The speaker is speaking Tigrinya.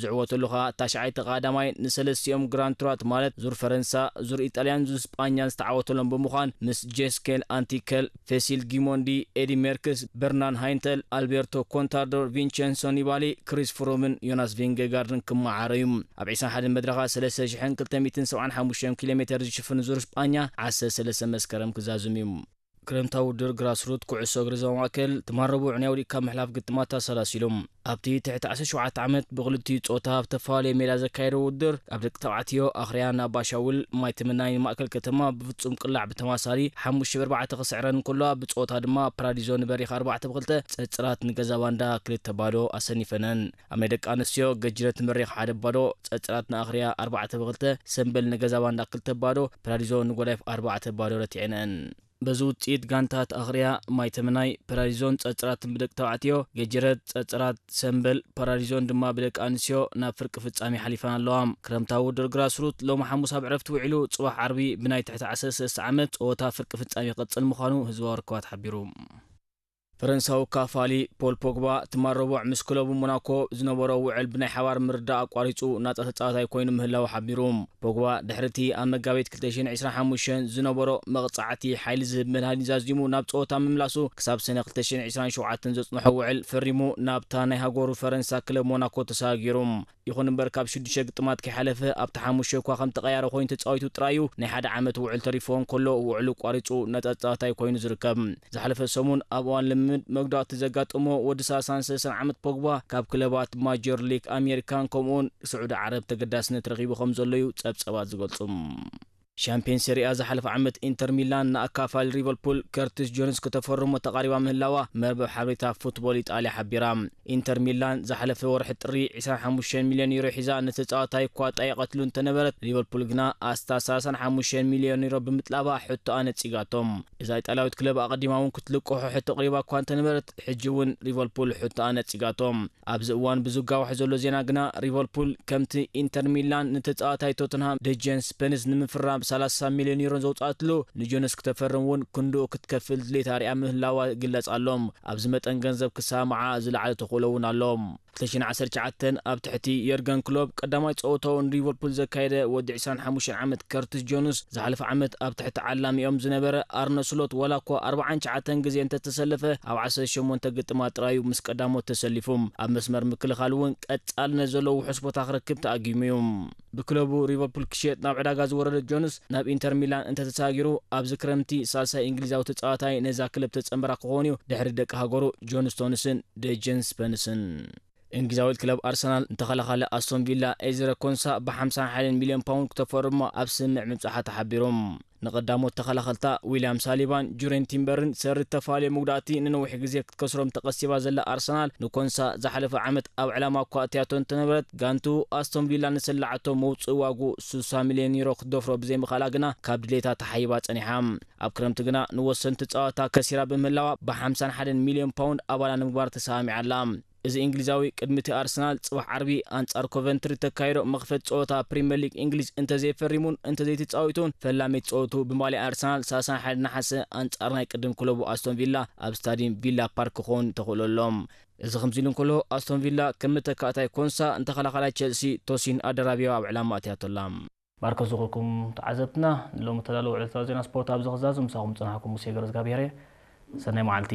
ዝዕወተሉ ኸኣ ታሽዓይ ተቐዳማይ ንሰለስቲኦም ግራንድ ቱራት ማለት ዙር ፈረንሳ፣ ዙር ኢጣልያን ዙር ስጳኛን ዝተዓወተሎም ብምዃን ምስ ጄስኬል ኣንቲከል፣ ፌሲል ጊሞንዲ፣ ኤዲ ሜርክስ፣ በርናን ሃይንተል፣ ኣልቤርቶ ኮንታርዶ፣ ቪንቸንሶ ኒባሊ፣ ክሪስ ፍሩምን ዮናስ ቪንጌጋርድን ክመዓረዩ። ኣብ ዕስራን ሓደን መድረኻ ሰለስተ ሽሕን ክልተ ሚእትን ሰብዓን ሓሙሽተን ኪሎ ሜተር ዝሽፍን ዙር ስጳኛ ዓሰርተ ሰለስተ መስከረም ክዛዝም እዩ። ክረምታዊ ውድድር ግራስሩት ኩዕሶ እግሪ ዞባ ማእከል ትማል ረቡዕ ናይ ወዲእካ ምሕላፍ ግጥማት ኣሰላሲሉ። ኣብቲ ትሕቲ ዓሰርተ ሸውዓተ ዓመት ብኽልቲኡ ጾታ ኣብ ተፈላለየ ሜዳ ዘካየዶ ውድድር፣ ኣብ ደቂ ተባዕትዮ ኣኽርያ ንኣባሻውል ማይ ትምናይ ንማእከል ከተማ ብፍጹም ቅላዕ ብተማሳሊ ሓሙሽተ ብ ኣርባዕተ ክስዕረን እንከሎ፣ ብጾታ ድማ ፕራዲዞ ንበሪኽ ኣርባዕተ ብ ክልተ፣ ጸጽራት ንገዛ ባንዳ ክልተ ባዶ ኣሰኒፈነን። ኣብ ናይ ደቂ ኣንስትዮ ገጅረት ንበሪኽ ሓደ ባዶ፣ ጸጽራት ንኣኽርያ ኣርባዕተ ብ ክልተ፣ ሰምበል ንገዛ ባንዳ ክልተ ባዶ፣ ፕራዲዞ ንጎዳይፍ ኣርባዕተ ባዶ ረቲዐነን። በዚ ውጽኢት ጋንታት ኣኽርያ ማይ ተምናይ ፓራዲዞን ጸጽራትን ብደቂ ተባዕትዮ፣ ገጀረት ጸጽራት ሰምበል ፓራዲዞን ድማ ብደቂ ኣንስትዮ ናብ ፍርቂ ፍጻሜ ሓሊፈን ኣለዋ። ክረምታዊ ውድድር ግራስሩት ሎሚ ሓሙስ ኣብ ዕረፍቲ ውዒሉ ጽባሕ ዓርቢ ብናይ ትሕቲ ዓሰርተ ሰለስተ ዓመት ጸወታ ፍርቂ ፍጻሜ ክቕጽል ምዃኑ ህዝባዊ ርክባት ሓቢሩ። ፈረንሳዊ ካፋሊ ፖል ፖግባ ትማል ረቡዕ ምስ ክለቡ ሞናኮ ዝነበሮ ውዕል ብናይ ሓባር ምርዳእ ኣቋሪጹ ናጻ ተጻዋታይ ኮይኑ ምህላው ሓቢሩ። ፖግባ ድሕሪ እቲ ኣብ መጋቢት ክልተ ሽሕን ዕስራን ሓሙሽተን ዝነበሮ መቕጻዕቲ ሓይሊ ዝህብ መድሃኒት ዛዚሙ ናብ ጸወታ ምምላሱ ክሳብ ሰነ ክልተ ሽሕን ዕስራን ሸውዓተን ዘጽንሖ ውዕል ፈሪሙ ናብታ ናይ ሃገሩ ፈረንሳ ክለብ ሞናኮ ተሰጋጊሩ። ይኹን እምበር ካብ ሽዱሽተ ግጥማት ከይሓለፈ ኣብቲ ሓሙሽተ እኳ ከም ተቐያሪ ኮይኑ ተጻዊቱ ጥራዩ ናይ ሓደ ዓመት ውዕል ተሪፎ እንከሎ ውዕሉ ቋሪጹ ነጻ ተጻዋታይ ኮይኑ ዝርከብ። ዝሓለፈ ሰሙን ኣብ እዋን ልምምድ መጉዳእቲ ዘጋጠሞ ወዲ ሰላሳን ሰለስተን ዓመት ፖግባ ካብ ክለባት ማጆር ሊግ ኣሜሪካን ከምኡውን ስዑዲ ዓረብ ተገዳስነት ረኺቡ ከም ዘሎ እዩ ጸብጸባት ዝገልጹ። ሻምፒዮን ሴሪኣ ዝሓለፈ ዓመት ኢንተር ሚላን ንኣካፋሊ ሊቨርፑል ከርቲስ ጆንስ ከተፈርሞ ተቓሪባ ምህላዋ መርበብ ሓበሬታ ፉትቦል ኢጣልያ ሓቢራ። ኢንተር ሚላን ዝሓለፈ ወርሒ ጥሪ ዕስራን ሓሙሽተን ሚልዮን ዩሮ ሒዛ ነቲ ተጻዋታይ እኳ ጠይቐትሉ እንተነበረት፣ ሊቨርፑል ግና ኣስታት ሰላሳን ሓሙሽተን ሚልዮን ዩሮ ብምጥላባ ሕቶኣ ነጺጋቶም። እዛ ኢጣልያዊት ክለብ ኣቐዲማ እውን ክትልቅሖ ሕቶ ኣቕሪባ እኳ እንተነበረት፣ ሕጂ እውን ሊቨርፑል ሕቶኣ ነጺጋቶም። ኣብዚ እዋን ብዝጋውሕ ዘሎ ዜና ግና፣ ሊቨርፑል ከምቲ ኢንተር ሚላን ንተጻዋታይ ቶተንሃም ደጀን ስፐንስ ንምፍራም ሰላሳ ሚልዮን ዩሮ ዘውጽኣትሉ፣ ንጆንስ ክተፈርም እውን ክንድኡ ክትከፍል ድሌት ኣርያ ምህላዋ ይግለጽ ኣሎ። ኣብዚ መጠን ገንዘብ ክሰማምዓ ዝለዓለ ተኽእሎ እውን ኣሎ። ክልተ ሽሕን ዓሰርተ ትሽዓተን ኣብ ትሕቲ የርገን ክሎፕ ቀዳማይ ጸወታኡ ንሊቨርፑል ዘካየደ ወዲ ዕስራን ሓሙሽተን ዓመት ከርቲስ ጆንስ፣ ዝሓለፈ ዓመት ኣብ ትሕቲ ዓላሚኦም ዝነበረ ኣርነ ስሎት ዋላ እኳ ኣርባዓን ትሽዓተን ግዜ እንተተሰለፈ፣ ኣብ ዓሰርተ ሸሞንተ ግጥማት ጥራዩ ምስ ቀዳሞት ተሰሊፉ። ኣብ መስመር ምክልኻል እውን ቀጻልነት ዘለዎ ውሑስ ቦታ ክረክብ ተኣጊሙ እዩ። ብክለቡ ሊቨርፑል ክሽየጥ ናብ ዕዳጋ ዝወረደ ጆንስ፣ ናብ ኢንተር ሚላን እንተተሳጊሩ፣ ኣብዚ ክረምቲ ሳልሳይ እንግሊዛዊ ተጻዋታይ ነዛ ክለብ ተጸንበራ ክኸውን እዩ፣ ድሕሪ ደቂ ሃገሩ ጆን ስቶንስን ደጀን ስፐንስን። እንግሊዛዊት ክለብ ኣርሰናል ንተኸላኻሊ ኣስቶን ቪላ ኤዝረ ኮንሳ ብሓምሳን ሓደን ሚልዮን ፓውንድ ክተፈርሞ ኣብ ስምምዕ ምብጻሓ ተሓቢሩ። ንቐዳሞት ተኸላኸልታ ዊልያም ሳሊባን ጁሬን ቲምበርን ሰሪ እተፋለየ መጉዳእቲ ንነዊሕ ግዜ ክትከስሮም ተቐሲባ ዘላ ኣርሰናል፣ ንኮንሳ ዝሓለፈ ዓመት ኣብ ዕላማ እኳ ኣትያቶ እንተነበረት፣ ጋንቱ ኣስቶን ቪላ ንሰላዓቶ መውጽኢ ዋጉ ስሳ ሚልዮን ዩሮ ክትደፍሮ ብዘይምኽኣላ ግና ካብ ድሌታ ተሓይባ ጸኒሓ። ኣብ ክረምቲ ግና ንወሰንቲ ጸዋታ ከሲራ ብምህላዋ ብሓምሳን ሓደን ሚልዮን ፓውንድ ኣባላ ንምግባር ተሰማሚዓ ኣላ። እዚ እንግሊዛዊ ቅድሚ እቲ ኣርሰናል ጽባሕ ዓርቢ ኣንጻር ኮቨንትሪ ተካይዶ መኽፈት ጸወታ ፕሪምየር ሊግ እንግሊዝ እንተዘይፈሪሙን እንተዘይተጻዊቱን፣ ፈላመይቲ ጸወቱ ብማልያ ኣርሰናል ሰላሳን ሓደን ነሓሰ ኣንጻር ናይ ቅድም ክለቡ ኣስቶን ቪላ ኣብ ስታዲየም ቪላ ፓርክ ክኸውን ተኽእሎ ኣሎ። እዚ ከምዚ ኢሉ እንከሎ፣ ኣስቶን ቪላ ከም መተካእታይ ኮንሳ ንተኸላኻላይ ቸልሲ ቶሲን ኣደራቢዮ ኣብ ዕላማ ኣትያቶ ኣላ። ማርኮስ ዝኾንኩም ተዓዘብትና፣ ንሎሚ እተዳለወ ዕለታዊ ዜና ስፖርት ኣብዚ ክዛዙ ምሳኹም ዝጸናሕኩም ሙሴ ገረዝጋብሄር እየ። ሰናይ መዓልቲ።